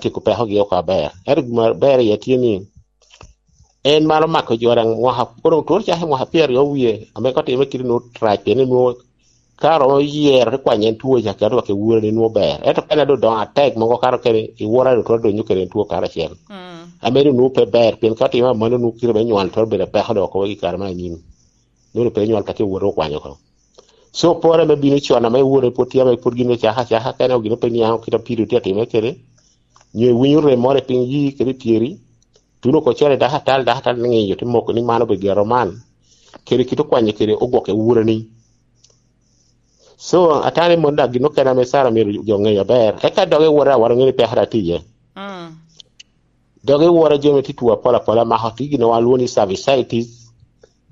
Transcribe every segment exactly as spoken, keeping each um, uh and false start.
tyeko pekogi oko aber. Ento gin aber iye tye ni, en maro mako jo daŋ mwaka, kono twero cako i mwaka pyeraryo wie, ame ka otime kite nwoŋo rac, pien nwoŋo ka romo yero te kwanyo en two ca, keto wa ke wurani nwoŋo ber. Ento ka en doŋ odoŋo atek mogo, kato kene i wora doŋ twero donyo kede en two karacel. Mm. Ame doŋ nwoŋo pe ber, pien ka otime amanno nwoŋo kite me nywal twero bedo apeko doŋ oko i kare me anyim. Nwoŋo pe nywal ka tye wora okwanyo oko. So, pore me bino con ame wora pwod tye, ame pwod gin ocako acaka, ka en gin pe niaŋ kite a pido tye atime kede, nyo iwinyo rem moro i piny yi kede tyeri, tuno ko con i dako atal, dako atal ni ng'inyo te moko ni man obedo gero man, kede kite okwanyo kede ogwokke wurani. So, atani mon daŋ gin okene ame Sara myero jo ŋeyo aber. Eka doge wora awara ŋeni peko daŋ tye iye. Mm. Doge wora jo me tye two apol apola mako tye gin wa lwongo ni cervicitis,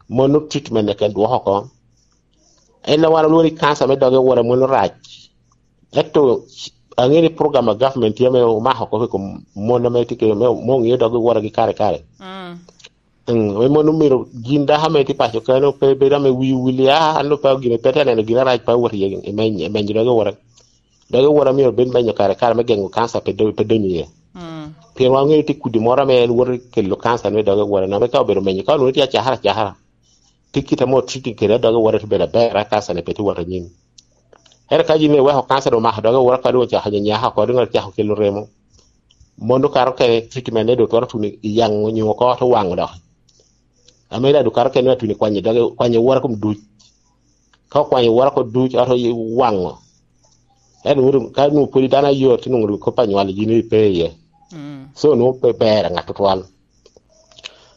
mono treatment ne ken dwoko oko. En a wan olwongo ni kanca me doge wora mono rac. Ento aŋe ni program a government tye ame omako oko i kom mon ame tye ke, me, me oŋeo doge wora gi kare kare. Mm. Mm, me mon omiro gin dako ame tye paco kano pe bedo ame wi wili, "Ah, an pe gine pe te neno gin arac pe awot iye, imeny, imeny doge wora." Doge wora myero bed menyo kare kare me geŋo kanca pe do-, pe donyo iye. Mm. Pien wan ŋeyo tye kudi moro ame en woto kelo kanca ni doge wora, ame ka obedo menyo, ka onwoŋo tye acakara acakara, tye kite amo treating kede doge wora te bedo aber, a kanca ni pe tye wot anyim. Ento ka yin iweko kanca doŋ omako doge wora, ka doŋ ocako nyanyaka oko, doŋ ocako kelo remo, mono kato kene treatment ne doŋ twero tuno i yaŋ onyo oko, te waŋo dok. Ame daŋ doŋ kato kene atuni kwanyo doge, kwanyo wora kom duc. Ka okwanyo wora kom duc, ato waŋo. Ento nwoŋo ka nwoŋo pwod dano ayot, nwoŋo kop anywal yin ipe iye. Mm. So nwoŋo pe ber ŋat tutwal.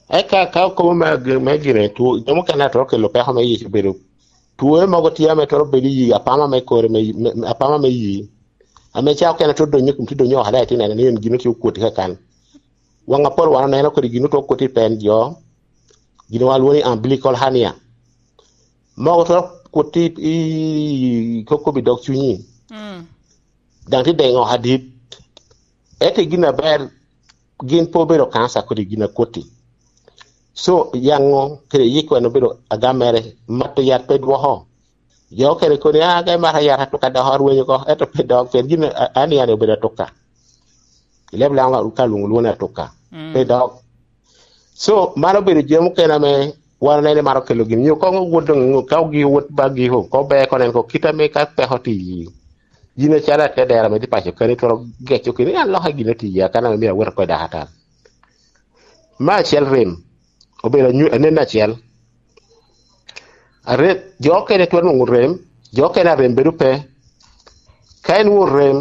Eka ka okobo me, me gine two, jo mukene atwero kelo peko me yic obedo two mogo tye ame twero bedo i yi apama me kore me, me, apama me yi. Ame ca okene twero donyo i kom, twero donyo oko ada, itye neno ni en gin tye okwoti kakan. Waŋ apol wan oneno kodi gin otwero kwoti i pen jo, gin wan lwongo ni umbilical hernia. Mogo twero kwoti i, i kokobi dog cunyi. Mm. Daŋ tye deŋo adit. Ento gin aber, gin pe obedo kanca kodi gin akwoti. So, yaŋo kede yiko en obedo agamere, mato yat pe dwoko. Jo okene koni, "Ah, ka imato yat atuka dok arwenyo oko," ento pe dok, pien gin a-, an yani obedo atuka. I leb Lango ka lwongo lwongo ni atuka. Mm. Pe dok. So, man obedo jami mukene ame wan onene maro kelo gin. Nyo koŋ owot doŋ, ka ogik owot ba giko, ko ber konen ko kit ame ka peko tye i yi. Yin acalo atedera ame tye paco kani, twero geco keni, "An loka gin ati ya, kan ame myero awot oko i dakatal." Me acel rem, obedo anyu-, anen acel. Are-, jo okene twero nwoŋo rem, jo okene a rem bedo pe. Ka en nwoŋo rem,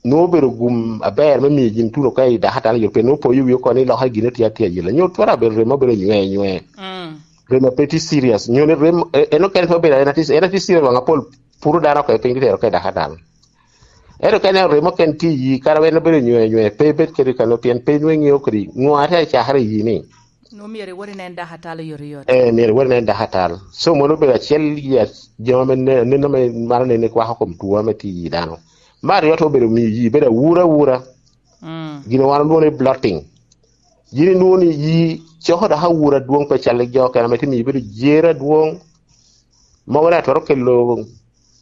nwoŋo obedo gum aber me miyo yin tuno ka i dakatal, yo pe nwoŋo poyo wi oko ni loka gin ati atye ayela. Nyo twero abedo rem ma obedo nywe nywe. Mm. Rem a pe tye serious. Nyo ni rem, e-, en okene pe obedo, en ati, en ati serious waŋ apol, puro dano oko i piny, tero ka i dakatal. Ento ka ineno remo ken tye i yi, kara en obedo nywe nywe, pe ibed kede kano, pien pe inwoŋo iŋeo kodi ŋo a te cakere i yi ni. Nwoŋo myero iwot inen dakatal oyotoyot. Eh, myero iwot inen dakatal. So, mono obedo acel i a-, jami ame ne-, aneno ame maro nene kwako kom two ame tye i yi dano. Me aryo, to obedo miyo yi bedo awura awura. Mm. Gin wan olwongo ni bloating. Yin inwoŋo ni yi coko dok awura adwoŋ, pe cal jo okene ame tye miyo bedo jer adwoŋ. Mogo daŋ twero kelo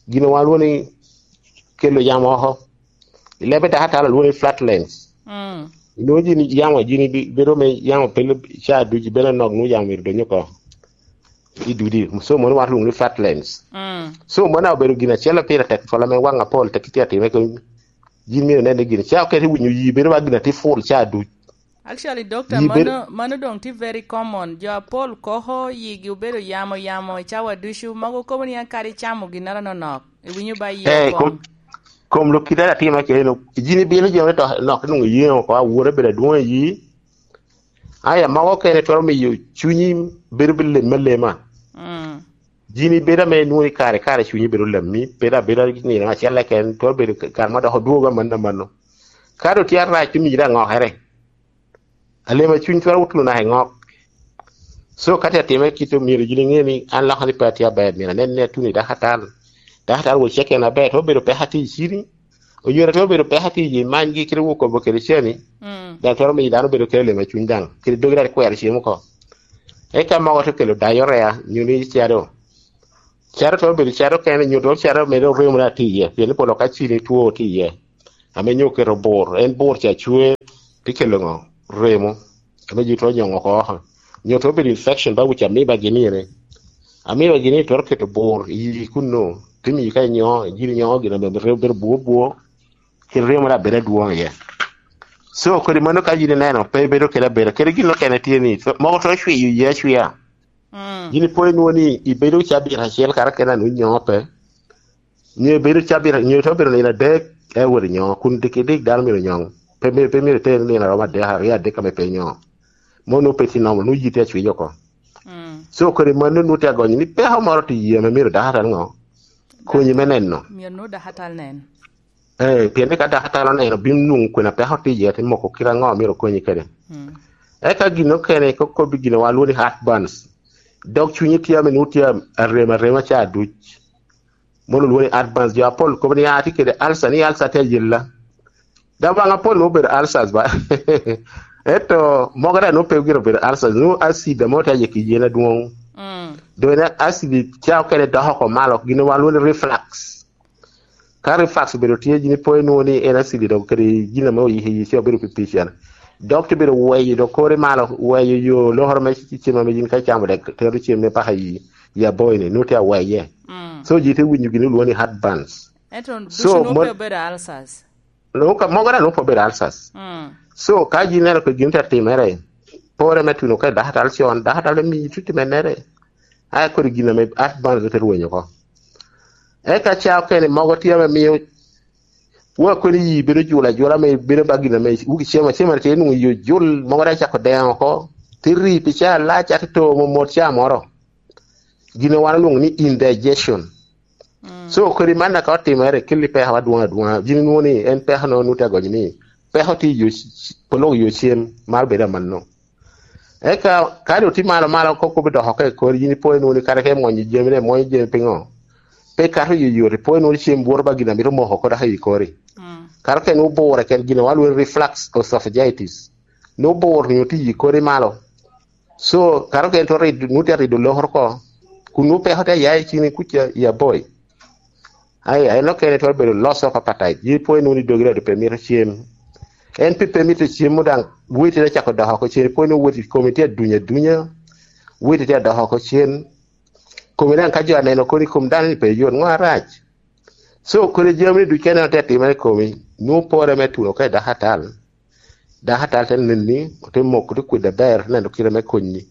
gin wan lwongo ni kelo yamo oko. I lebe dakatal olwongo ni flatulence. Mm. Inwoŋo yin yamo, yin ibi-, bedo me yamo pele ca ducu, bedo anok, nwoŋo yamo myero donyo oko i dudi. So, mono wan lwongo ni flatulence. Mm. So, mono obedo gin acel pire tek twol ame waŋ apol tek itye atime kede yin myero inen ni gin ca okete i winyo yi bedo ba gin ati full ca ducu. Actually, doctor, yi bedo mano, mano doŋ tye very common. Jo apol koko yigi obedo yamo yamo i cawa ducu. Mogo kobo ni an kadi icamo ginnoro nonok, iwinyo ba yi Eh, okwong. Kom, kom lok kite atimo keno. Yin ibino jo me to nok nwoŋo iyeŋo oko, awura bedo adwoŋ i yi. Aya, mogo okene twero miyo cunyi bedo bi lem alema. Mm. Yin ibedo ame inwoŋo ni kare kare cunyi bedo lammi, bedo abeda nino acel keken, twero bedo kare ma dok odwogo amanno amanno. Ka doŋ tye arac, omiyi daŋ ŋokere. Alem a cuny twero tuno naka i ŋok. So, ka tye atime kit omyero yin iŋe ni an loka ni pe atye aber, myero anen ni atuno i dakatal. Dakatal wo cek en aber, twero bedo peko atir i cini. Onyo twero bedo peko atir i manygi, kite wo kobo kede cani. Mm. Daŋ twero miyo dano bedo kede lem a cuny daŋ. Kede dogi daŋ kwero cem oko. Eka mogo te kelo diarrhea, nyo ni cado. Cado twero bedo cado kene, nyo twero cado medo remo na tye iye, pien ni pol ka cini two tye iye. Ame nyo keto bur, en bur ca cwer. Tye kelo ŋo? Remo. Ame ji twero nyoŋo oko oko. Nyo twero bedo infection ba wic amiba gini ene. Amiba gini twero keto bur i yi kunnu. Te miyi ka inyoŋo, yin inyoŋo gin ame remo bedo bur bur. Kit remo mere abedo adwoŋ iye. So, kodi mano ka yin ineno, pe ibedo kede abeda. Kede gin okene tye ni, mogo twero cwiyo yi acwiya. Mm. Yin ipo inwoŋo ni ibedo cabit acel kara kena ni nyoŋo pe. Nyo ibedo cabit, nyo itwero bedo nino adek, e wot inyoŋo, kun dik, dik dano myero nyoŋ. Pe myero, pe myero iter nino aromo adek, aryo adek ame pe inyoŋo. Mo nwoŋo pe tye nomo, nwoŋo yiti acwiyo oko. Mm. So, kodi mano nwoŋo tye agonyo ni peko moro tye i yie ame myero dako atal ŋo? Konyi me neno. Myero nwoŋo dako atal nen. Eh, pien ni ka dako atal oneno, bino nwoŋo kwena peko tye iye, te moko kite aŋo myero okonyi kede. Mm. Eka gin okene, ko-, kobbi gin wa lwongo ni heartburns. Dog cunyi tye ame nwoŋo tye arem arema ca duc. Mono lwongo ni heartburns. Jo apol kobo ni, "Ah, atye kede ulcer, ni ulcer tye ayella." Dok baŋ apol nwoŋo obedo ulcers ba. Ento mogo daŋ nwoŋo pe gire obedo ulcers, nwoŋo acid ame tye ayek i yen adwoŋ. Mm. Doŋ en acid ca okene doko oko malo, gin wa lwongo ni reflux. Ka reflux obedo tye, yin ipo inwoŋo ni en acid dok kede gin ame oyik i yi ca obedo pipic en. Dok te bedo weyo dok kore malo, weyo yo lokoro me cim ame yin ka icamo dek tero cim me paka i, i aboyi ni, nwoŋo tye aweye. Mm. So, ji te winyo gin olwoŋo ni heartburns. Ento ducu nwoŋo pe obedo ulcers. Nwoŋo ka-, mogo daŋ nwoŋo pe obedo ulcers. Mm. So, ka yin ineno kede gin te timere, pore me tuno ka i dakatal con, dakatal te miyi tuti mennere. Aye kodi gin ame heartburns te rwenyo oko. Eka ca okene mogo tye ame miyo wa koni yi bedo jul ajula ame bedo ba gin ame wuki cemo acema tye nwoŋo yi ojul, mogo daŋ cako deŋo oko, te ri pi caa alac, ate to momot caa moro. Gin ame wan olwoŋo ni indigestion. Mm. So, kodi man ka otimere, keli peko adwoŋ adwoŋa. Gin nwoŋo ni en peko no nwoŋo tye agonyo ni peko tye i yo c-, c-, polok yo cem, mar bedo amanno. Eka, ka doŋ tye malo malo, kop kop dok oko i kori, yin ipo inwoŋo ni kara ka imwonyo jami, ne imwonyo jami piŋo? Pe ikato yoyot, ipo inwoŋo ni cem bworo ba gin a mito moko oko dok i kori. Mm. Kara ka en obure ken gin a walwero reflux esophagitis. Nwoŋo bur nyo tye i kori malo. So, kara ka en twero rido, nwoŋo tye rido lokoro oko, kun nwoŋo peko tye aya i cini kuca i aboyi. Ai, en okene twero bedo loss of appetite. Yin ipo inwoŋo ni dogi rado pe mito cem. En pe, pe mito cem daŋ, weti te cako dok oko cen. Ipo inwoŋo weti komi tye aduny adunya. Weti tye adok oko cen. Komi daŋ ka jo aneno koni kom dano ni pe yot, ŋo arac? So, kodi jami ni duc kene tye atimere i komi, nwoŋo pore me tuno ka i dakatal. Dakatal te neni, ote moko, te kwede aber, neno kite me konyi.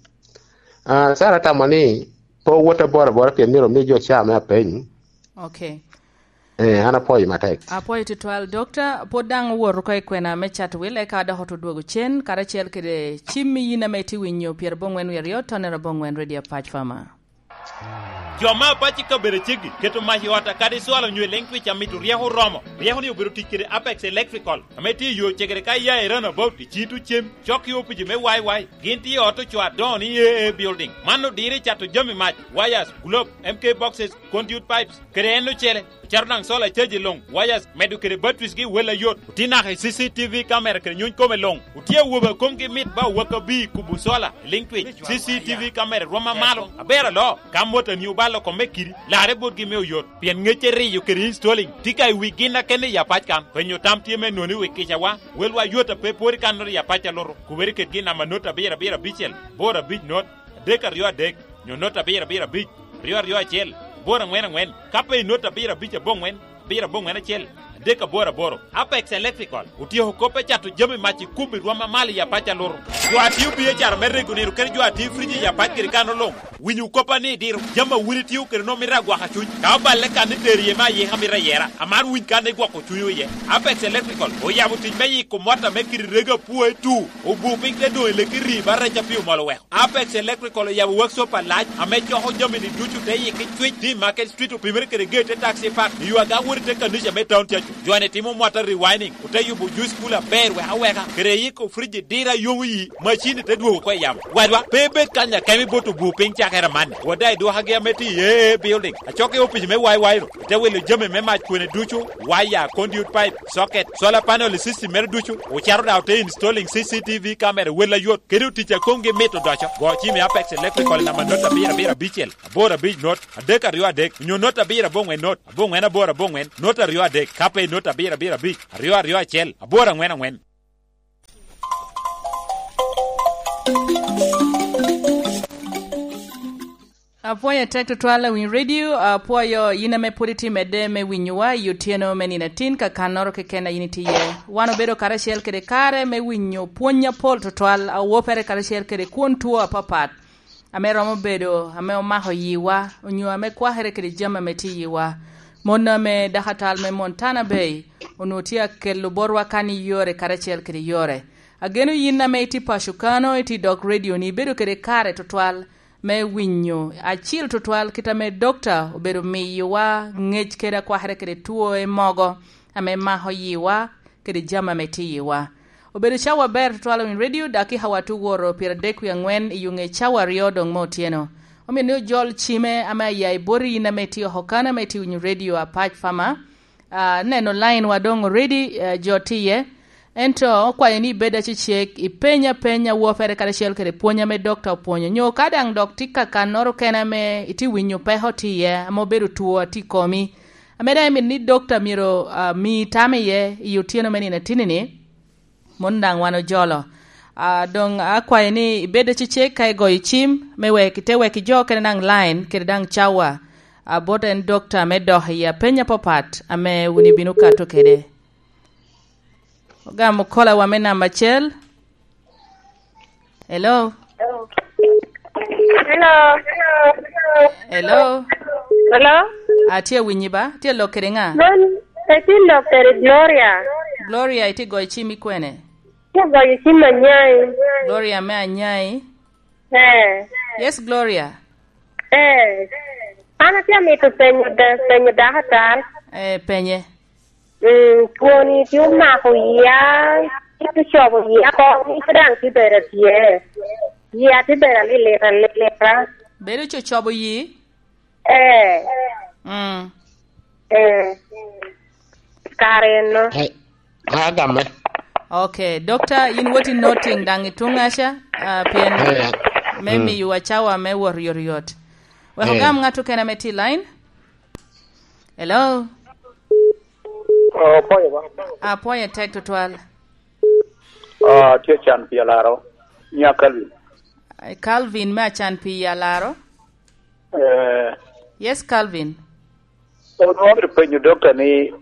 Ah, Sara tamo ni, pe owot abora abora pien myero omi jo caa me apeny. Ok. Eh, an apwoyo matek. Apwoyo tutwal, Dokta. Pwod daŋ owoto oko i kwena me Chatwil, eka dok oto dwogo cen, karacel kede cimmi yin ame itye winyo pyerabongwen wie aryo, tonere abongwen Radio Apac Fama. Jo me Apac i kabedo ceggi, keto mac i ot kadi cwalo onyo i leŋ twic amito ryeko oromo. Ryeko ni obedo tic kede Apex Electrical, ame tye i yo cegere ka iya i Runabout, i cito cem, cok i opici me Y Y. Gin tye i ot ocoo adoŋo ni A A Building. Man odiro i cato jami mac, wires, globe, M K boxes, conduit pipes, kede en ocele. Ocato daŋ solar charge luŋ, wires, medo kede batteries gi wel ayot. Otye naka i C C T V camera kede nyuny kome luŋ. Otye awobe a komgi mit ba owaka bi kubo solar, liŋ twic, C C T V camera rwom amalo. Aber alo, ka motani obalo kome kidi, larre botgi me oyot. Pien ŋecce riyo kede installing, tye ka i wi gin akene i Apac kan. Penyo tam tye me noni wi kicawa, welwa yot a pe pwod i kannoro i Apac alutu. Kubere kede gin namba not abiro abiro abicel, bor abic not, adek aryo adek, nyo not abiro abiro abic, aryo aryo acel, aboro aŋwen aŋwen, ka pe i not abiro abic aboŋwen, abiro aboŋwen acel, adek aboro aboro. Apex Electrical otyeko kop me cato jami mac i kubo i rwom amalo i Apac alutu. Jo a tio biacara me rego nino kede jo a tio frij i Apac kede kan oloŋ. Winyo koppa ni diro, jami a wun itio kede nwoŋo mito agwaka cuny. Ka oballe kan ni tero iye me ayika mito ayera, amaro winy kan ni gwoko cunywu iye. Apex Electrical oyabo tic me yiko mot ame kidi rego apwoe tu, obu piny te doŋ i leki rii ba rec a pi omol oweko. Apex Electrical oyabo workshop alac ame coko jami ni ducu te yiki cwic, tye i Market Street, opimere kede gate te taxi park, i yo aga wot i te kanica me town cacu. Jo-ni timo mwata rewinding, ote yubo juice cooler aber wek aweka, kede yiko frij i diro a yomo yi, macin te dwogo oko i yamo. Wadwa, pe ibed kany akemo ibot obu piny cakere amanni. Wot daŋ i dwokagi ame tye i A A Building, acok i opic me Y Y ru, ite wilo jami me mac kwene ducu, waya, conduit pipe, socket, solar panel i system mere ducu, ocato daŋ ote installing C C T V camera wel ayot, kede otic a komgi mit odoco. Go cim i Apex Electrical i namba not abiro abiro abicel, aboro abic not, adek aryo adek, onyo not abiro aboŋwen not, aboŋwen aboro aboŋwen, not aryo adek, ka pe i not abiro abiro abic, aryo aryo acel, aboro aŋwen aŋwen. Apwoyo atek tutwal awiny redio, apwoyo yin ame pwod itye medde me winyowa i otyeno me nino atin, ka kannoro keken a yin itye iye. Wan obedo karacel kede kare me winyo pwony apol tutwal, a wopere karacel kede kwon two apapat, ame romo bedo ame omako yiwa, onyo ame kwakere kede jami ame tye iwa. Mon ame dakatal me Montana Bay onwoŋo tye akelo botwa kan i yore karacel kede yore. Ageno yin ame itye paco kano, itye dok redio-ni, ibedo kede kare tutwal me winyo acil tutwal kit ame dokta obedo miyowa ngec kede akwakere kede two mogo ame mako yiwa kede jami ame tye iwa. Obedo cawa aber tutwal i redio, dakika wa tye woro pyeradek wie angwen i yo ŋe cawa aryo doŋ me otyeno. Omio ni ojol cime ame aya i boti yin ame itye oko kan ame itye winyo redio apac pama. Ah, neno line wa doŋ already, eh, jo tye iye. Ento okwayo ni ibed acecek, ipeny apenya wopere karacel kede pwony ame dokta opwonyo. Nyo ka daŋ dok tye ka kannoro kene ame itye winyo peko tye iye, ame obedo two atye i komi, ame daŋ imito ni dokta myero, ah, mi tam iye i otyeno me nino atini-ni, mon daŋ wan ojolo. Ah, doŋ akwayo ni ibed acecek ka igoyo cim, me wek ite wek ijo kene daŋ line, kede daŋ cawa, ah, bot en dokta me dok i apeny apapat ame wun ibino kato kede. Ogamo kolawa me namba acel. Hello? Hello. Hello? Hello? Atye awinyi ba? Atye lok kede ŋa? Mon, atye lok kede Gloria. Gloria, itye goyo cim i kwene? Atye goyo cim Anyai. Gloria me Anyai? Eh. Yes, Gloria. Eh. An atye amito penyo da-, penyo dakatar. Eh, penye. Mm, twoni tye omako iya, tye ocobo iya oko, ite daŋ tye bedo atye. Iya tye bedo alilita, alilita. Bedo cocobo yi? Eh. Mm. Eh. Kare eno. Hey, agame. Okay, Dokta, yin woti noting daŋ i tuŋaca, ah, pien eh, me mm, miyowa cawa me wot yotyot. Wek eh, ogam ŋat okene ame tye i line. Hello? Oh, apwoyo ba. Apwoyo tek tutwal. Ah, tye can pi alaro. Nya Calvin. Eh, Calvin me acan pi alaro. Eh. Yes, Calvin. Onwongo amito penyo dokta ni,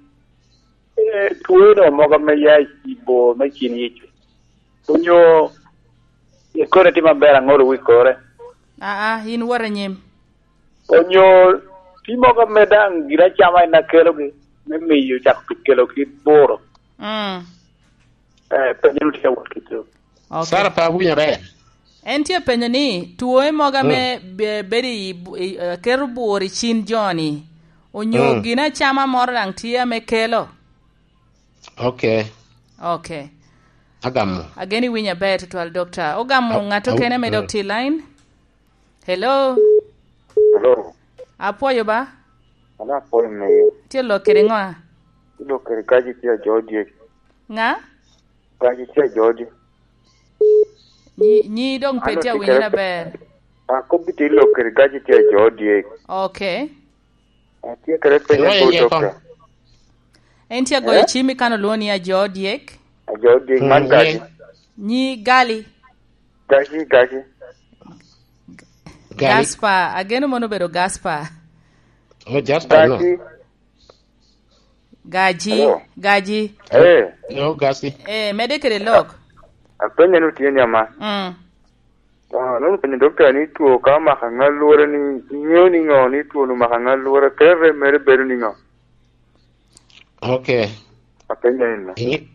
eh, tweno mogo ame ya i bor me cin Yecu, onyo ikone tye maber aŋolo wi kore? Aa, in wot anyim. Onyo tye mogo ame daŋ gin acama en akelogi, me miyo cako pi kelogi buro? Mm. Eh, penyo ni tye awot kito. Okay. Sara pe awinyo ber. En tye penyo ni, two mogo ame mm, be-, bedo i bu-, i, eh, keto bworo i cin jo-ni, onyo mm, gin acama moro daŋ tye ame kelo? Okay. Okay. Agamo. Ageno iwinyo aber tutwal, Dokta. Ogamo a-, ŋat a-, okene ame dok mm, tye i line. Hello? Hello? Apwoyo ba? An apwoyo meyo. Tye lok kede ŋo? Tye lok kede Gaji tye ajo dyek. Ŋa? Gaji tye ajo dyek. Nyi, nyi doŋ pe tye awinyo kede aber. Akobbi tye lok kede Gaji tye ajo dyek. Okay. Atye kede penyo iye dokta. En tye agoyo cim i kan olwoŋo ni ajo dyek. Ajo dyek man mm, Gaji. Nyi Gali. Gaji, Gaji. Gali. Gaspar, ageno mono obedo Gaspar. Oh, Gaspar, no. Gaji. Gaji, hello? Gaji. Eh. Yo, Gaji. Eh, mede kede lok. Apenyo ni tye ni ama. Mm. Ah, nongo penyo dokta ni two ka omako aŋa lwora ni, iŋeo ni ŋo ni two ni omako aŋa lwora, kere mere bedo ni ŋo? Okay. Apenyo en no. Inge-,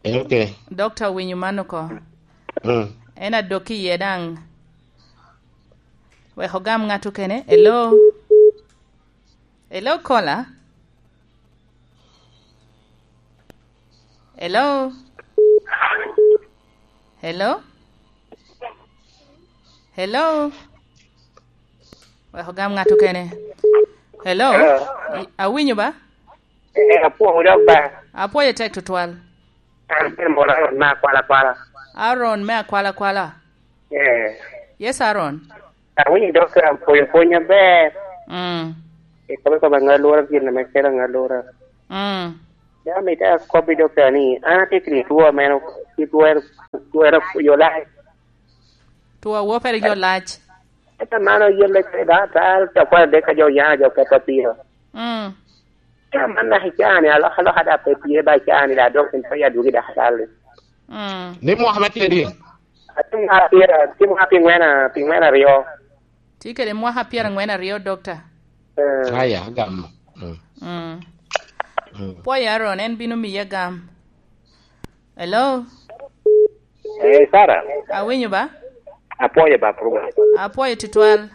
eh, okay. Dokta owinyo man oko. Mm. En adok iye daŋ. Wek ogam ŋat okene. Hello? Hello, caller? Hello? Hello? Hello? Wek ogam ŋat okene. Hello? Hello? I-, awinyo ba? Eh, apwoyo dok ba. Apwoyo tek tutwal. An pe moro Aaron me akwala kwala. Aaron me akwala kwala? Eh. Yes, Aaron. Awinyo dok apwoyo pwony aber. Mm. Ikobe kobe aŋa lwora gin ame kelo aŋa lwora. Mm. Dok amito akobbi dokta ni, an atye kede two meno, ki twero, twero yola. Two awo pe rik jo lac. Eka man oyelle kede daŋ atal, ca kwan adek ka jo oya, jo keto piro. Mm. Eka man naka i caa-ni, alokaloka daŋ pe tye ba i caa-ni, daŋ dok en pe ya dwogi daŋ atal-li. Mm. Ni mwaka me tye di? Atye mwaka pyera, atye mwaka pyengwen a-, pyengwen aryo. Tye kede mwaka pyerangwen aryo, Dokta. Eh. Aya, agamo. Mm. Mm. Mm. Pwoyo Aaron, en bino miye gam. Hello? Eh, Sara. Awinyo ba? Apwoyo ba program. Apwoyo tutwal.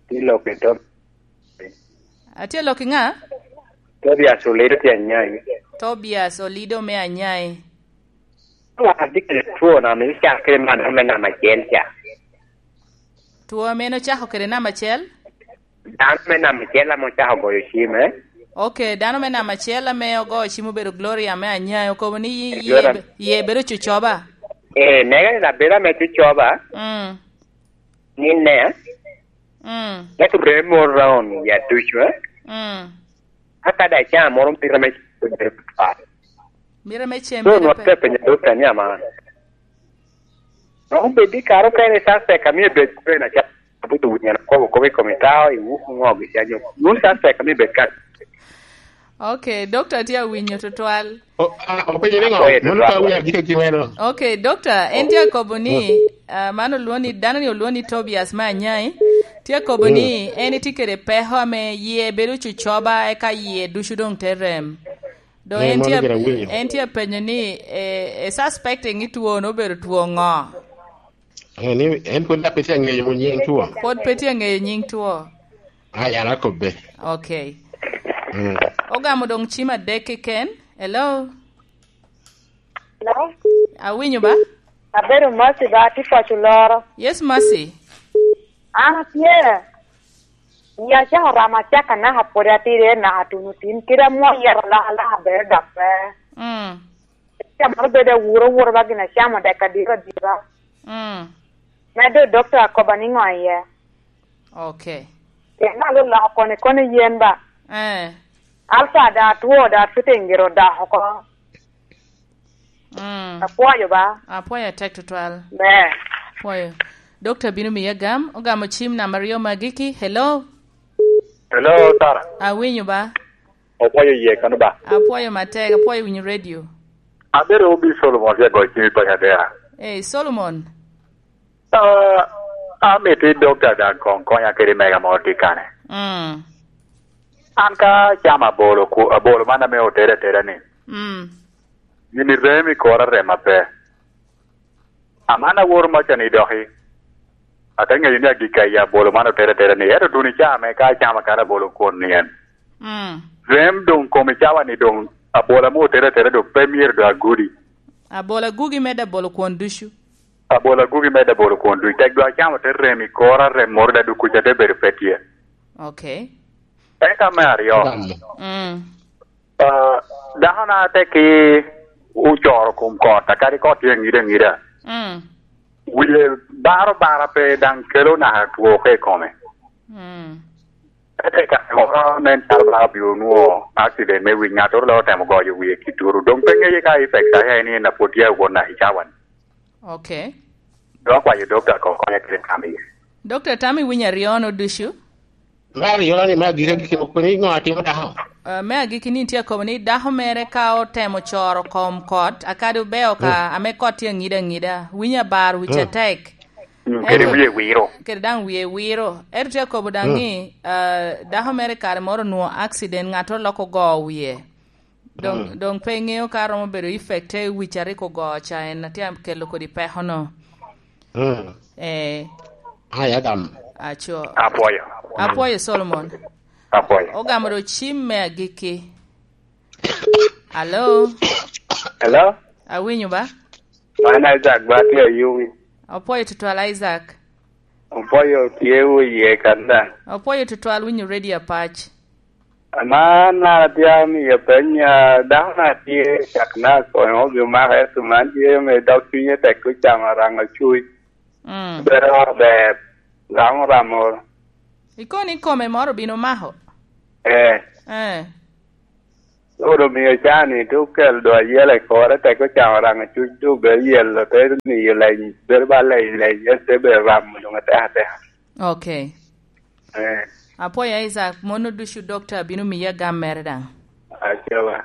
Tye lok i Tob-, Atye lok i ŋa? Tobias Olido tye Anyai. Tobias Olido me Anyai. Wan atye kede two na ame ocakere man me namba acel ca. Two ame en ocako kede namba acel? Dano me namba acel ame ocako goyo cim, eh? Ok, dano me namba acel ame ogoyo cim obedo Gloria me Anyai, okobo ni yi-, Gloria. Ye, ye bedo cucoba? Eh, mega ni labela me cucoba. Mm. Ni ne. Mm. Ento remo round ya ducu, eh? Mm. Aka da caa moro mito me cem bedo tutwal. Mito me cem. So, bedo nwa pe- pe penyo dokta ni ama. Romo bed i kare okene suspect amio bed kwena ca. Abuto winyo na kobo kobo i kom itao, i wuku ngo gi canyo. Nun suspect amio bed ka. Ok, dokta tye awinyo tutwal. O-, a, openyo ni ŋo? Apoye tutwal. Mano ka wi agike ki meno. Ok, dokta, en tye akobo ni, mm, ah, man olwongo ni, dano ni olwongo ni Tobias me Anyai. Tye akobo, mm, ni en tye kede peko ame yie bedo cucoba, eka yie ducu doŋ te rem. Doŋ, eh, en mano tye, gire awinyo. En tye apenyo ni, eh, e suspecting ni two-nu obedo two ŋo? Eh, ni en pwod pe tye aŋeyo nyiŋ two. Pwod pe tye aŋeyo nyiŋ two. Ah, yara kobbe. Ok. Mm. Ogamo doŋ cim adek keken. Hello? Hello? Awinyo ba? Abedo Mercy ba, atye paco loro. Yes, Mercy. An atye. Iya, acako ramo acaka naka pwod atidi, naka tuno tin. Kit amwo yero alaka alaka bene dok pe. Mm. Ca moro bedo awuro awuro ba gin acamo dek adiro adira. Mm. Medde dokta akoba ni ŋo iye? Ok. Pien naka oloko koni koni yen ba. Eh. Alta da two da fitting giro da oko. Mm. Apwoyo ba. Apwoyo atek tutwal. Ber. Apwoyo. Dokta bino miya gam, ogamo cim namba aryo magiki. Hello? Hello, Sara. Awinyo ba? Opwoyo ye kano ba? Apwoyo matek, apwoyo winyo radio. Abedo obi Solomon, tye goyo cim i panya dera. Eh, Solomon. Ah, amito i dokta daŋ koŋ konya kede mega moro tye kane. Mm. An ka acamo abolo ku-, abolo man ame otere atera ni. Mm. Gini rem i kora rem maber. Aman aworo maca ni doki. Ate ŋeyo ni agikki aye abolo man otere atera ni. Ento duni ca me ka acamo akana abolo kwon ni en. Mm. Rem doŋ kom i cawa ni doŋ abola mo otere atera doŋ pe myero doŋ agudi. Abola gugi medde abolo kwon ducu. Abola gugi medde abolo kwon ducu. Tek doŋ acamo te rem i kora, rem moro da duk kuca te bedo pe tye. Ok. Eka me aryo. Mm. Ah, dako na te ki ocoro kom kot, akadi kot tye aŋida aŋida. Mm. Wie baro bara pe daŋ kelo naka two ka i kome. Mm. Ete ka moro nen calo ba obio onwoŋo accident me wic, ŋattoro dok otemo goyo wie ki turu. Doŋ pe ŋeye ka effect aye ni en a pwod tye awot naka i cawa-ni. Ok. Doŋ akwayo dokta koŋ konya kede tam iye. Dokta, tam iwinyo aryo-nu ducu? Me aryo-ni, me agikki, agikki, kobo ni ŋo atimo dako? Ah, me agikki ni tye akobo ni dako mere ka otemo coro kom kot, akadi obeo ka, mm, ame kot tye aŋida aŋida, winyo abar wic, mm, atek. Mm, kede ento wie wiro. Kede daŋ wie wiro. Ento tye akobo daŋ, mm, ni, ah, dako mere kare moro onwoŋo accident, ŋattoro loko ogo wie. Doŋ, mm, doŋ pe ŋeo ka romo bedo effect te wic a rik ogo ca en a tye akelo kodi peko-no. Mm. Eh. Ai, agam. Aco. Apwoyo. Apwoyo, Solomon. Apwoyo. Ogamo do cim me agikki. Alo? Hello? Awinyo ba? Man Isaac ba, tye Ayumi. Apwoyo tutwal, Isaac. Apwoyo tye wu iye kan daŋ. Apwoyo tutwal winyo radio apac. Ama an atye amiyo peny, ah, dako na tye cak na konyo obin omako, ento man tye me dog cunye tek, ocamo araŋo cuc. Mm. Bedo ber, ramo ramo. Ikono ni kome moro obin omako? Eh. Eh. Oro omio can-ni te okel do ayela i kore, tek ocamo raŋo cuc, doŋ obedo yelo, te miyo leny, bedo ba leny, leny, en te bedo ramo doŋ atek ateka. Okay. Eh. Apwoyo Isaac, mono ducu dokta bino miya gam mere daŋ. Acawa.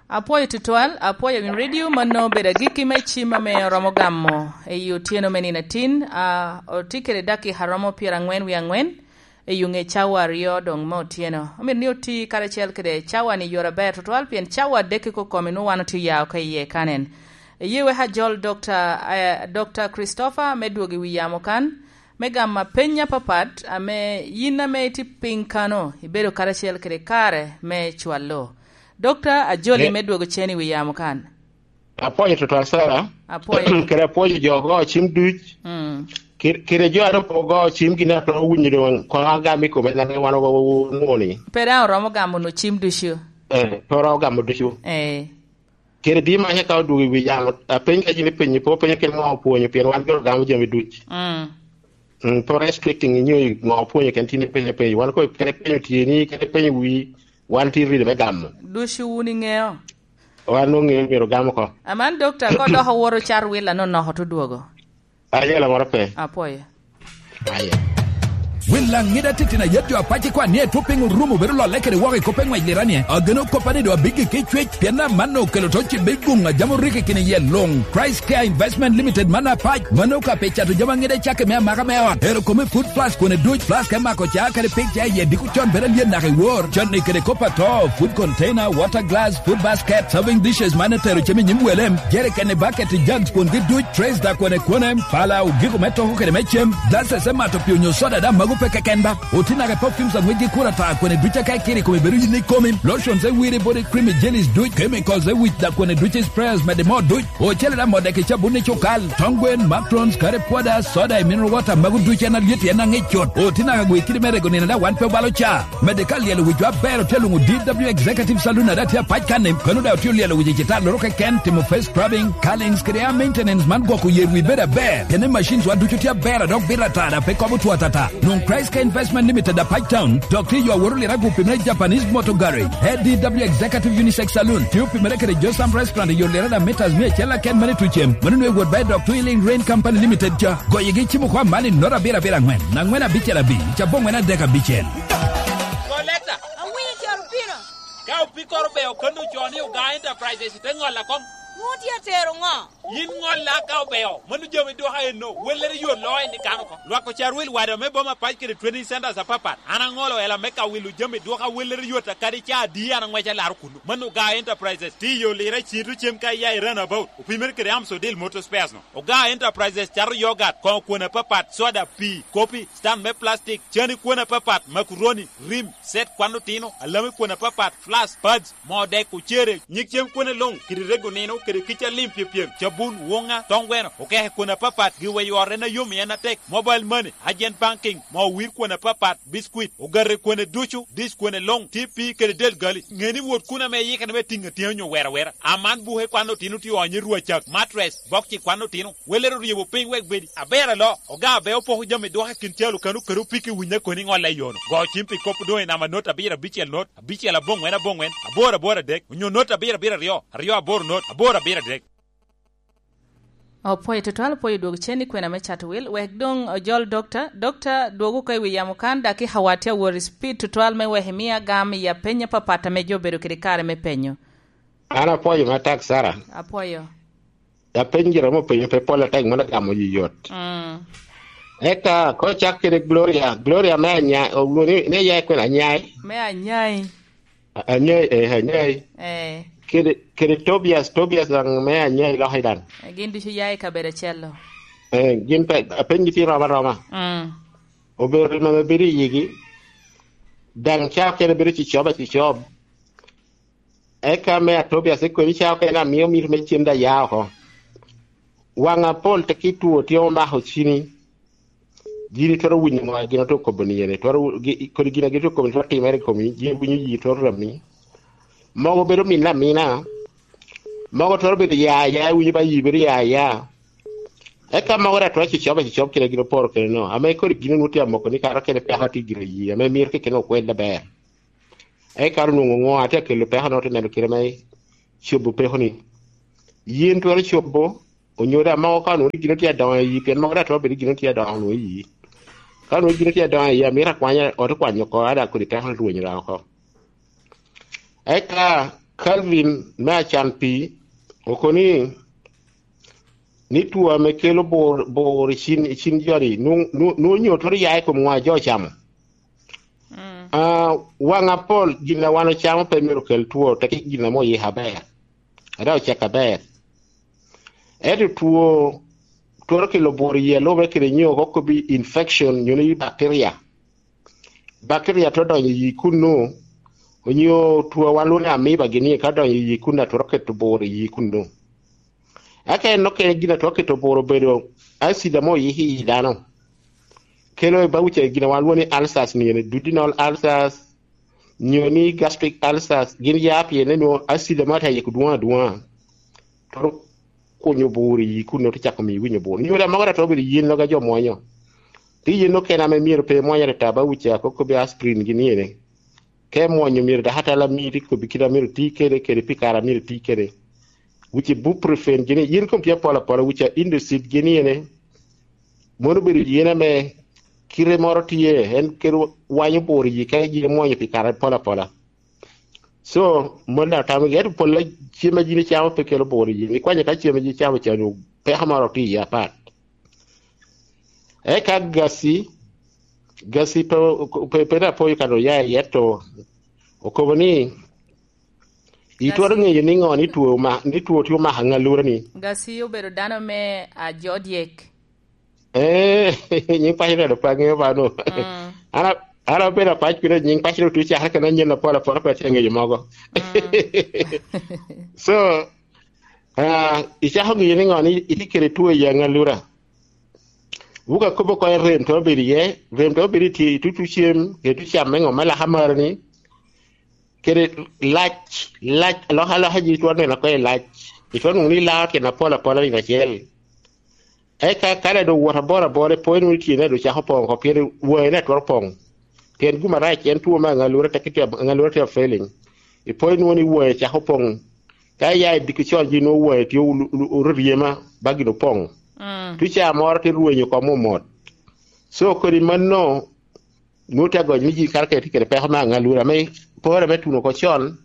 Apwoyo tutwal, apwoyo win radio, mano obedo agikki me cim ame oromo gamo i otyeno me nino atin, a, otye kede dakika romo pyerangwen wie angwen, i yo ŋe cawa aryo doŋ me otyeno. Omito ni oti karacel kede cawa-ni i yore aber tutwal, pien cawa adek i kokom-mi nwoŋo wan otye oya oko iye kanen. Eye wek ajol Dokta, eh, Dokta Christopher me dwogo i wi yamo kan, me gamo apeny apapat, ame yin ame itye piny kano, ibedo karacel kede kare me cwalo. Dokta, ajoli Eh. me dwogo cen i wi yamo kan. Apwoyo tutwal, Sara. Apwoyo. Kede apwoyo jo ogo cim duc. Mm. Kede, kede jo a rik ogo cim gin a twero winyo doŋ koŋ agam i kome, naka wan ogo, ogo, ogo, ni. Pe daŋ oromo gamo no cim ducu. Eh, pe oromo gamo ducu. Eh. Kede di manya ka odwogo i wi yamo, apeny ka yin ipenyo, pe openyo kede ŋo opwonyo, pien wan gin ogamo jami duc. Mm. Mm, pe restricting inyo ŋo opwonyo, ken tin ipenyo apenyo. Wan ko kede penyo tyeni, kede penyo wi, wan tin ride me gamo. Ducu wun iŋeo? Wan ongeyo myero ogam oko. Aman dokta, ko dok owoto car wil ano noko to dwogo? Ayela moro pe. Apwoyo. Aye. Wil Laŋida titino ayet jo apac i kwan ni etwo piny orumo bedo lolle kede woko i kop eŋwec lira ni, ageno koppa ni do abiggi ki cwec, pien amanno okelo to cibbe guŋ a jam orikki kini yel luŋ. Christ Care Investment Limited man apac, mano ka pe cato jami aŋida cake me amaka me ot. Ero kome food plus kwene duc, plus ka imako ca kede pig ca iye diko con bedo alyet naka i wor. Con ni kede kop ato, food container, water glass, food basket, serving dishes man etero cem i nyim welem, jerikeni, baketi, jugs kwongi duc, trays da kwene kwene, pala, ogiko me toko kede me cem, glasses me mato pi onyo soda da mago pe keken ba. Oti naka perfumes aŋwec gi kura ta kwene duc aka ikiri kome bedo yin ikomi, lotions e wiri body cream, jellies duc, chemicals e wic da kwene duc, sprayers mede mo duc. Ocele da modde ki cabun i cukal, tong gwen, matrons, kare pwoda, soda i mineral water, mago duc en alyet en aŋic cut. Oti naka gwe kidi me rego nino da wan pe obalo ca. Mede ka lyelo wic jo aber otye luŋo D W Executive Saloon ada tye apac kan-ni, kano da otye olyelo wic i cita loro keken, timo face scrubbing, curlings, kede hair maintenance man gwoko yer wi bedo aber. Kene machines wa ducu tye aber a dok bito atara pe kobo two atata. Nwoŋ Christ Care Investment Limited apac town, dok tye yo aworo lirago pi me Japanese Motor Garage. A D W Executive Unisex Saloon, tye opimere kede Josam Restaurant i yo lirada meters mia acel aken mani tucem. Mano nwe wot bayi dok Twilling Rain Company Limited ca. Goyigi cimo kwa mani nota abiro abiro angwen, angwen abicel abic, cabongwen adek abicel. Goleta. Awinyo caro pino. Ka opikoro be okanno co ni Oga Enterprises te ŋolla koŋ. Ŋo tye atero ŋo? Yin ŋolla ka obeo, mano jami dwoka enno, wellere yot loo en i kano oko. Lwak ocar wil wada me boma pac kede training centers apapat. An aŋolo ela me ka wilo jami dwoka wellere yot a kadi ca adi an aŋwec alaro kuno. Mano Oga Enterprises, tye i yo lira i Cinto cem ka iya i Runabout, opimere kede Amsodil Motor Spares no. Oga Enterprises cato yogat, koŋo kwon apapat, soda, pii, kopi, stand me plastic, cani kwon apapat, makuroni, rim, set kwan otino, alami kwon apapat, flask, pads, moo dek, ocere, nyig cem kwene luŋ, kede rego nino, kede kica lim pyepyem, cabun, woŋa, tong gweno, okeke kwene apapat, giweyo ot en ayom i en atek, mobile money, agent banking, moo wir kwene apapat, biscuit, ogate kwene ducu, dish kwene luŋ, T P kede del gali. Ŋe ni wot kun ame iyikere me tiŋ atina onyo wera wera. Aman buke kwan otino tye onyo i rwacak, mattress, bokci kwan otino, welere oryebo piny wek bedi aber alo. Oga abe opoko jami dwoke kin calo kano kede opiki winya koni ŋolla i yono. Go cim pi kop doŋ i namba not abiro abicel not, abicel aboŋwen aboŋwen, aboro aboro adek, onyo not abiro abiro aryo, aryo aboro not, aboro abiro adek. Opwoyo tutwal, opwoyo dwogo cen i kwena me cato wil, wek doŋ ojol dokta. Dokta, dwogo oko i wi yamo kan, dakika wa tye awot i speed tutwal me wek imia gam i apeny apapat ame jo obedo kede kare me penyo. An apwoyo matek, Sara. Apwoyo. Apeny gire mo penyo pe pol atek, mano gamo yot. Mm. Eka, ko cak kede Gloria, Gloria me Anyai, owuno ni, ni ya kwena Anyai? Me Anyai. A-, Anyai, eh, Anyai. Eh. Kede, kede Tobias, Tobias daŋ me Anyai loki daŋ. Eh, gin ducu ya i kabedo acel-lo. Eh, gin pe, apenygi tye rom aroma. Mm. Obedo remo ame bedo i yigi. Daŋ ca okene bedo cicob acicob. Eka me a Tobias, ikwemi ca okene amio mito me cen da ya oko. Waŋ apol te ki two tye omako cini. Gin itwero winyo ŋo a gin otye okobo ni ene? Twero wu-, gi-, kodi gin a gin otye okobo ni twero timere i komi, gin iwinyo yi twero rami. Mogo bedo mine amina. Mogo twero bedo ya ya, iwinyo ba yi bedo ya ya. Eka mogo daŋ twero cicob acicob kite gin oporo kene no. Ame kodi gin onwoŋo tye amoko ni kato kene peko tye gire yi, ame mito kekene okwel aber. Eka onwoŋo ŋo a tye akelo peko, nwoŋo te neno kite me cobo peko-ni. Yin twero cobo, onyo daŋ mogo ka onwoŋo ni gin otye adoŋo i yi, pien mogo daŋ twero bedo ni gin otye adoŋo onwoŋo i yi. Ka onwoŋo gin otye adoŋo i yi, amito akwanya, ot okwanyo oko, a daŋ kodi peko rwenyo daŋ oko. Eka Calvin me Acan Pii okobo ni, ni two ame kelo bur, bur i cin, i cin jo-ni, nwoŋo, nwoŋo, nwoŋo onyo twero ya i kom ŋo a jo ocamo. Mm. Ah, waŋ apol, gin a wan ocamo pe myero okel two, teki gin ame oyiko aber, a daŋ ocek aber. Ento two twero kelo bur i yi a lube kede nyo okobbi infection, nyo ni bacteria. Bacteria twero donyo i yi kunnu, onyo two a wan lwongo ni amoeba gini ka donyo i yi kunnu, a twero keto bur i yi kunnu. Eka en okene gin a twero keto bur obedo acid ame oyiko i yi dano. Kelo i bawuca gin a wan lwongo ni ulcers, ni ene duodenal ulcers, nyo ni gastric ulcers, gin ya pien ni nwoŋo acid ame atye ayiko dwoŋ adwoŋa. Twero kunyo bur i yi kunnu, te cako miyo iwinyo bur. Nyo daŋ mogo daŋ twero bedo yen loga jo mwonyo. Ti yen okene ame myero pe mwony atata, bawuca, okobbi aspirin gini ene. Ka imwonyo myero dakatala miti kobbi kite a myero ti kede, kede pi kare a myero ti kede. Wic ibuprofen gini, yin kom tye apol apola, wic a Indosit gini ene. Mono obedo yen ame kite moro tye, en kelo wanyo bur i yi ka yin imwonyo pi kare apol apola. So, mon daŋ otamo gi, ento pol a cem a yin icamo pe kelo bur i yi. Ikwanyo ka cem a yin icamo ca, nwoŋo peko moro tye i yi apat. Eka Gasi, Gasi pe, pe, pe daŋ apoyo kan oya iye to, okobo ni, itwero ŋeyo niŋo ni two ma, ni two tye omako aŋalura-ni? Gasi obedo dano me ajo dyek. Eh, nyiŋ paco rado pe aŋeyo ba nu. Mm. An a-, an abedo apac pire, nyiŋ paco rado tuco cakere kede anyen apol apol, pe atye aŋeyo mogo. Mm. So, ah, icako ŋeyo niŋo ni itye kede two i aŋalura? Wuk akobo oko i rem twero bedo iye, rem twero bedo i tye, i tutu cem, kede tutu cam me ŋo me laka maro-ni, kede lac, lac, alokaloka ji twero neno oko i lac, itwero nwoŋo ni ilao tyen apol apola nino acel. Eka ka daŋ doŋ wot abor abor, ipoyo nwoŋo ni tyene daŋ doŋ cako poŋ oko, pien waŋe daŋ twero poŋ. Pien gum arac en two me aŋalura, teke tye, aŋalura tye failing. Ipoyo nwoŋo ni waŋe cako poŋ. Ka iya i diki con, ji nwoŋo waŋe tye olu-, olu-, oryema, ba gin opoŋ. Mm. Tuca moro te rwenyo oko mot mot. So, kodi mano, nwoŋo tye agoc ni ji kato kede tye kede peko me aŋalura, ame pore me tuno oko con,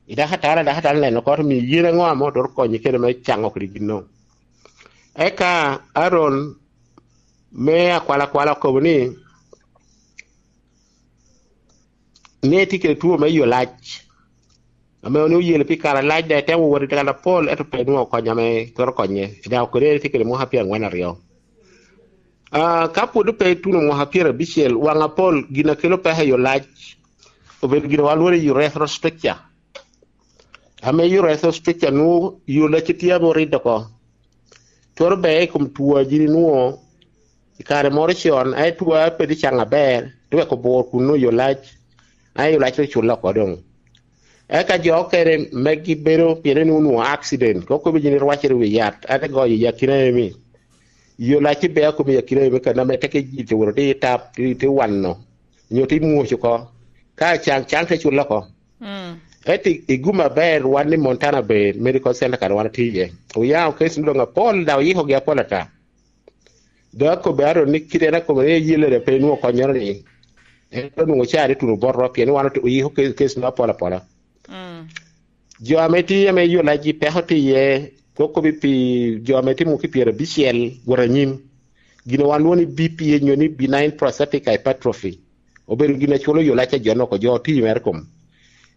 i dakatara, dakatara neno oko, to miyo yen aŋo ame otwero konyi kede me caŋo kede gin no. Eka Aaron me akwalakwala okobo ni, ni etye kede two me yo lac, ame onwoŋo oyelo pi kare alac, daŋ etemo wot i kan apol, ento pe nwoŋo kony ame twero konye. Daŋ okone etye kede mwaka pyerangwen aryo. Ah, ka pwod pe ituno mwaka pyerabicel, waŋ apol, gin a kelo peko i yo lac obedo gin a wan lwongo ni urethral stricture. Ame urethral stricture nwoŋo yo lacci tye ame oridde oko. Twero beo i kom two a yin inwoŋo i kare moro con, aye two a pe tye caŋ aber, te weko bur kun nwoŋo yo lac, aye yo lac te culle oko doŋ. Eka jo okene megi bedo pien en onwoŋo accident, kop kop yin irwaccere i wi yat, ate goyo i akina emi. Yo lac ibe a kome i akina emi, kan ame teke ji te woro te tap, te, te wano, nyo te mwoc oko. Ka caŋ, caŋ te culle oko. Mm. Ento i, i gum aber, wan i Montana Bay Medical Center kan wan atye iye. Oyaŋo case doŋ apol, daŋ oyikogi apol ata. Doŋ akobbi Aaron ni kite en akobo ni eyelle daŋ pe nwoŋo konnyoro ni. En onwoŋo caa ni tuno bot ro, pien wan ote-, oyiko ke-, case no apol apola. Mm. Jo ame tye ame yo lacgi peko tye iye, kop kop pi jo ame tye mwaki pyerabicel wot anyim. Gin a wan lwongo ni B P A nyo ni benign prostatic hypertrophy. Obedo gin a culo yo lac a jo nok, jo oti mere kom.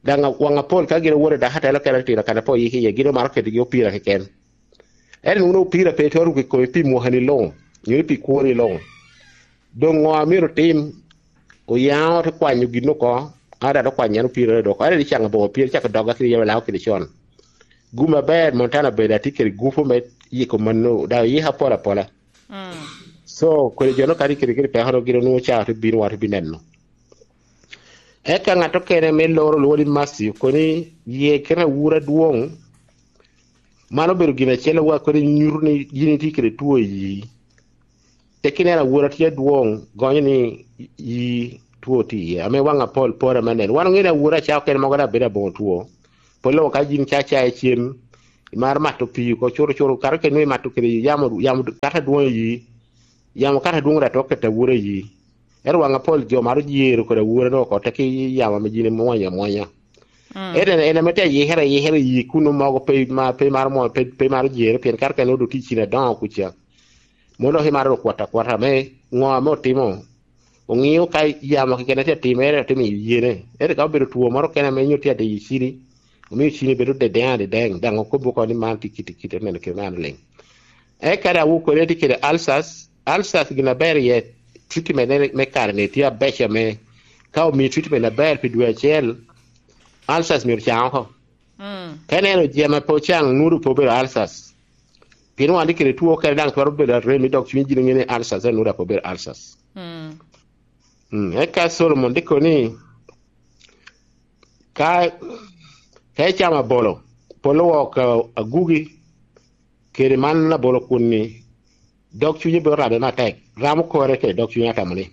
Daŋ a-, waŋ apol ka gin owoto i dakatela okene tino kan a pe oyik iye, gin omaro ketigi opira keken. Ento nwoŋo opira pe twero ruko i kome pi mwakani luŋ, nyo ni pi kwoni luŋ. Doŋ ŋo a myero otim? Oyaŋo te kwanyo gin oko, a daŋ okwanyo en opira dok. Ento icaŋo boko pien cako doga kede yam alao kede con. Gum aber, Montana Bay atye kede gupu me yiko mano, daŋ oyiko apol apola. Mm. So, kodi jo no kadi kede, kede peko no gin onwoŋo caa te bino, wan te bineno. Eka ŋat okene me loro lwongo ni Matthew, koni ye kite awura adwoŋ, man obedo gin acel a wa kodi nyuto ni yin itye kede two i yi. Tek ineno awura tye adwoŋ, gonyo ni yi two tye iye, ame waŋ apol pore me neno. Wan oŋeo ni awura ca okene mogo daŋ bedo aboŋo two. Pol loko ka yin ca ca icem, imaro mato pii oko, curo curo, kato kede nwoŋo imato kede yamo, yamo kato adwoŋ iyi, yamo kato adwoŋ daŋ twero keto awura iyi. Ento waŋ apol jo maro jero kede awura no oko, te ki yamo ame yin imwonyo amwonya. Mm. Ento en, en ame te yikere, yikere iyi kun mogo pe, ma, pe maro mo, pe, pe maro jere, pien kato kede nwoŋo doŋ tye i cin adoŋo kuca. Mano dok imaro dok kwat akwata me ŋo ame otimo. Oŋeo ka yamo keken tye atimere, otimo i yene. Ento ka obedo two moro kene ame nyo tye adiyo i cini, omio cini bedo dedeŋ adedeŋ, daŋ okobo oko ni man tye kiti kiti, neno kite me an liŋ. Eka daŋ wukone tye kede ulcers. Ulcers gin aber iye, treatment ne me kare ni tye abeco ame ka omio treatment aber pi dwe acel, ulcers myero caŋ oko. Mm. Ka ineno jami pe ocaŋ, nwodo pe obedo ulcers. Pien wan tye kede two kene daŋ twero bedo arem, dok cwiny jini ŋe ni ulcers, en nwodo pe obedo ulcers. Mm. Mm, eka Solomon tye kono ni, ka, ka icamo abolo, polo wok, a-, agugi, kede man abolo kun-ni, dog cunye bino rabe matek, ramo kore kede dog cunye atamo ni.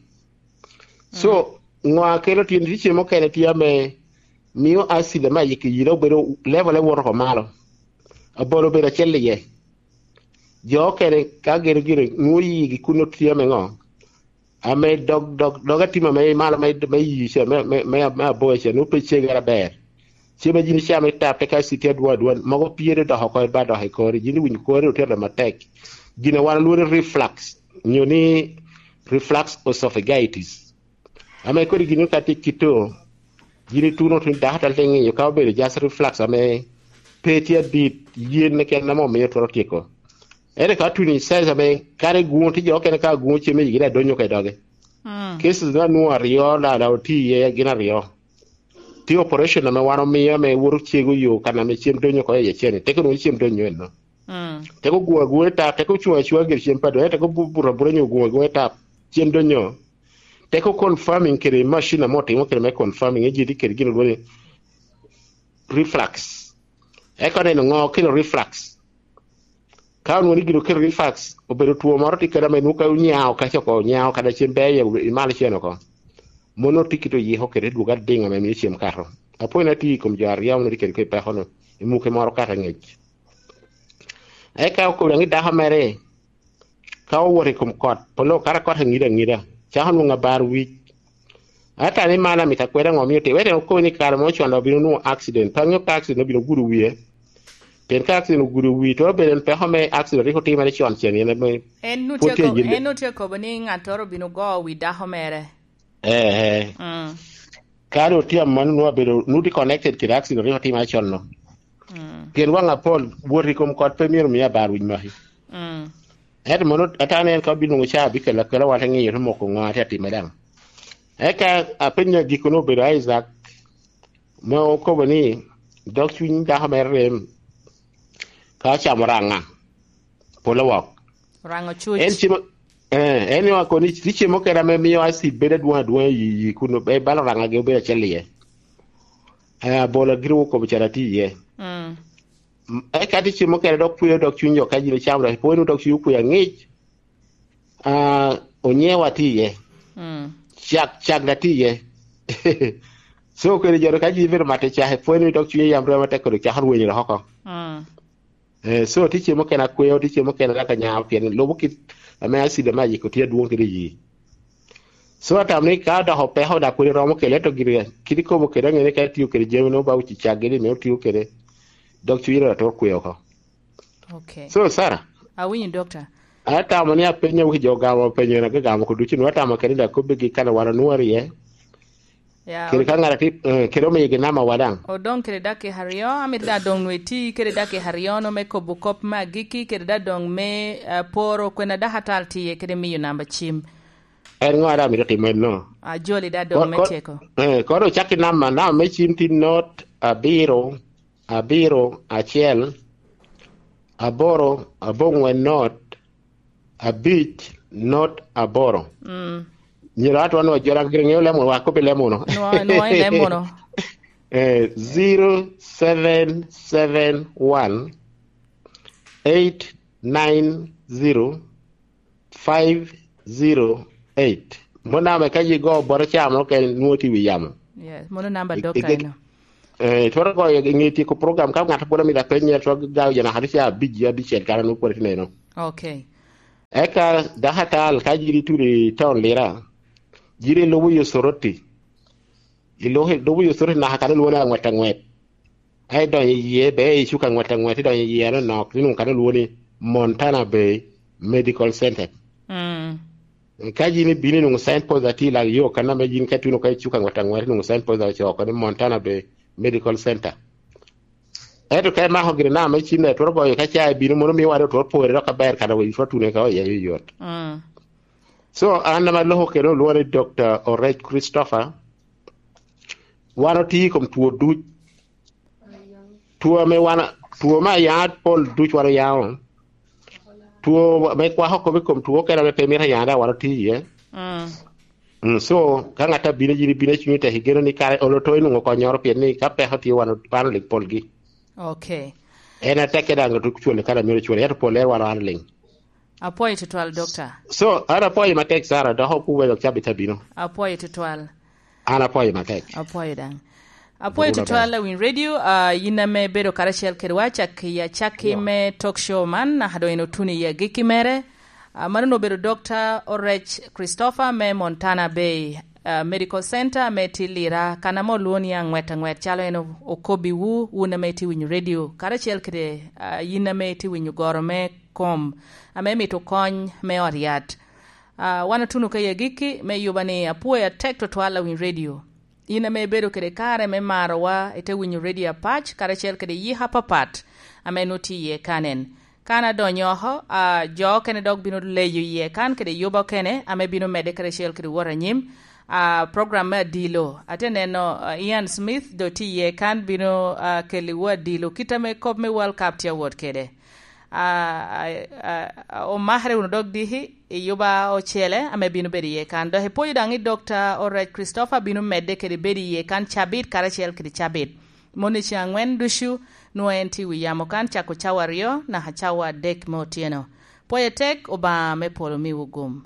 So, mm, ŋo a kelo tyen, tye cem mukene tye ame mio acid ame ayiki yilo bedo, level-e woto oko malo. Abolo bedo acel iye. Jo okene ka gin gire nwoŋo yigi kun otye ame ŋo? Ame dog, dog, dog atima me malo me, me yi ca, me, me, me, me aboya ca, nwoŋo pe cegere aber. Cem a yin icamo i tap, eka acid tye adwoŋ adwoŋ, mogo pyere dok oko ba dok i kori, yin iwinyo kori otyero matek. Gin a wan olwongo ni reflux, nyo ni reflux esophagitis. Ame kodi gin ka tye kito, yin ituno tun dako tal te ŋiyo ka obedo just reflux ame pe tye adit, yen keken ame omiyo twero tyeko. Ento ka tuno i size ame kare guŋo tye jo okene ka guŋo cem i yigi daŋ donyo ka i doge. Mm. Cases na nwoŋo aryo, la, la otye iye gin aryo. Tye operation ame wan omio ame woto cego yo kan ame cem donyo oko i acel-ni. Teko nwoŋo cem donyo eno. Mm. Teko guŋ aguŋa i tap, teko cuŋ acuŋa gire cem pa donyo, teko bu-, buto abuta nyo guŋ aguŋa i tap, cem donyo. Teko confirming kede machine ame otimo kede me confirming, ejedi kede gin olwongo ni reflux. Eka oneno ŋo kelo reflux. Ka onwoŋo ni gin okelo reflux, obedo two moro tye kede ame nwoŋo ka onyao kaca oko, onyao kadi cen ber iye, imalo cen oko. Mono tye kit oyiko kede dwogo adiŋ ame mio cem kato. Apwony atye i kom jo aryo ame tye kede kede peko-nu, i muke moro kato angec. Eka okobo daŋ i dako mere, ka owoto i kom kot, polo kato kot aŋida aŋida, cako nwoŋo abar wic. Ata ni man amito akweda ŋo mio tye, wek en okobo ni kare mo con obino nwoŋo accident, pe aŋeo ka accident obino gudo wie. Pien ka accident ogudo wi, twero bedo en peko me accident rik otimere con cen, en ame en nu pwod tye tye akobo, yin. En nu tye akobo ni ŋattoro obino go wi dako mere. Ee, ee. Mm. Ka doŋ tye aman nu abedo, nu tye connected kede accident rik otimere con no. Mm. Pien waŋ apol, wot i kom kot pe myero mi abar wic maki. Mm. Ento mono atamo ni en ka obino nwoŋo ca abikelo akela, wan te ŋeyo te moko ŋo a tye atimere daŋ. Eka apenyo agikone obedo Isaac, ma okobo ni, dog cwiny dako mere rem ka ocamo raŋa, polo wok. Raŋo cuc. En cimo, eh, en yo akoni, tye cem mukene ame mio acid bedo adwoŋ adwoŋ i, i kun, eh, balo raŋa gi obedo acel iye. Eh, abola gire okobo cara tye iye. Mm. M-, eka tye cem mukene dok kweo dog cwiny jo ka yin icamo dok ipwony dog cwiny okweo aŋic. Ah, onyewa tye iye. Mm. Cak, cak daŋ tye iye. So, kede jo ka yin ibedo mato cak, ipwony ni dog cwiny yam rwema tek kodi cako rwenyo dok oko. Mm. Eh, so, tye cem mukene akweo, tye cem mukene dok anyao, pien lubo kit ame acid ame ayiko tye adwoŋ kede iyi. So, atamo ni ka dok opeko dok kodi romo kele, to gire, kit ikobo kede, aŋene ka itiyo kede jami, nwoŋo ba uci cak gini, me otiyo kede, dog cwiny dok atwero kweo oko. Okay. So, Sarah. Awinyo, Doctor. Atamo ni apenyo wi jo gamo penyo na gamo ko ducu, nwa tamo kede da kobbi gi kana wan onwori ye. Ya, kede ka ŋara ti, eh, kede omiyo gi nama wa daŋ. Odong kede dakika aryo, amito da dong nwe ti kede dakika aryo no me kobo kop me agiki, kede da dong me, eh, poro kwena dakatal tiye kede miyo namba cim. En ŋo ara amito timo en no? Ajoli da dong me tyeko. Eh, koro ocak ki namba, namba me cim ti not abiro, abiro acel, aboro, aboŋwen not, abic, not aboro. Mm. Myero atwa nwa jora gire ŋeo lemo, wa kopi lemo no. Nwa, nwa i lemo no. Eh, zero seven seven one, eight nine zero, five zero eight. Mon namba ka yi go boro camo kene nwoŋo tye i wi yamo. Yes, mono namba I- dok i- kaino. Eh, twero goyo i ŋe tyeko program ka ŋat pwod amito apenye, twero gayo jo naka tye abic, abicel kan anwoŋo pwod tye neno. Okay. Eka dako atal ka jiri tuli i taun Lira, jiri lubo yo Soroti. Ilubo, ilubo yo Soroti naka kan olwoni aŋwet aŋwet. Ai donyo iye, be i cuka aŋwet aŋwet, idonyo iye anonok, inwoŋo kan olwoni Montana Bay Medical Center. Mm. Ka yin ibino inwoŋo signpost atye i lak yo, kan ame yin ka ituno ka i cuka aŋwet aŋwet, inwoŋo signpost ocoo oko ni Montana Bay Medical Center. Ento ka imako gire naka me cim, twero goyo ka ca ibino, mono mio wano twero pore dok aber, kan awe twero tune ka oye yot. Mm. So, an ame aloko kene olwongo ni Dokta Orec Christopher. Wan otye i kom two duc. Two ame wan, two me ayange pol duc wan oyango. Two me kwako kop i kom two okene ame pe mito ayange daŋ wan otye iye. Mm. Mm, so, ka ŋat abino, yin ibino i cunyi tek, igeno ni kare olo to inwoŋo konnyoro, pien ni ka peko tye wan, wan olik polgi. Okay. En atekke daŋ tuk cwale kan amito cwale, ento pol en wan wan liŋ. Apwoyo tutwal, Dokta. So, an apwoyo matek, Sara, dok okuwe dok cabit abino. Apwoyo tutwal. An apwoyo matek. Apwoyo daŋ. Apwoyo tutwal, awiny radio, ah, yin ame bedo karacel kedwa cak i acakki me talk show man, naka doŋ en otuno i agikki mere. Ah, mano obedo Dokta Orec Christopher me Montana Bay, ah, Medical Center me tye Lira, kan ame olwongo ni aŋwet aŋwet, calo en o-, okobbiwu, wun ame itye winyo radio, karacel kede, ah, yin ame itye winyo goro me kom, ame mito kony me ot yat. Ah, wan otuno ka i agikki me yuba ni apwoyo atek tutwal awiny radio. In ame ibedo kede kare me marowa, ite winyo radio apac, karacel kede yik apapat ame nwoŋo tye iye kanen. Kan adonyo oko, ah, jo okene dok bino leyo iye kan kede yuba okene ame bino medde karacel kede wot anyim. Ah, program me adilo, ate neno, ah, Ian Smith do tye iye kan bino, ah, kelliwu adilo, kit ame kop me World Cup tye awot kede. Ah, ah, ah, omakere wunu dok diki i yuba ocele ame bino bedo iye kan. Dok ipwoyo daŋ ni Dokta Orec Christopher bino medde kede bedo iye kan cabit karacel kede cabit. Moni ceŋ aŋwen ducu, nwoŋo en tye i wi yamo kan cako cawa aryo naka cawa adek me otyeno. Pwoyo tek, Obaŋa me polo miwu gum.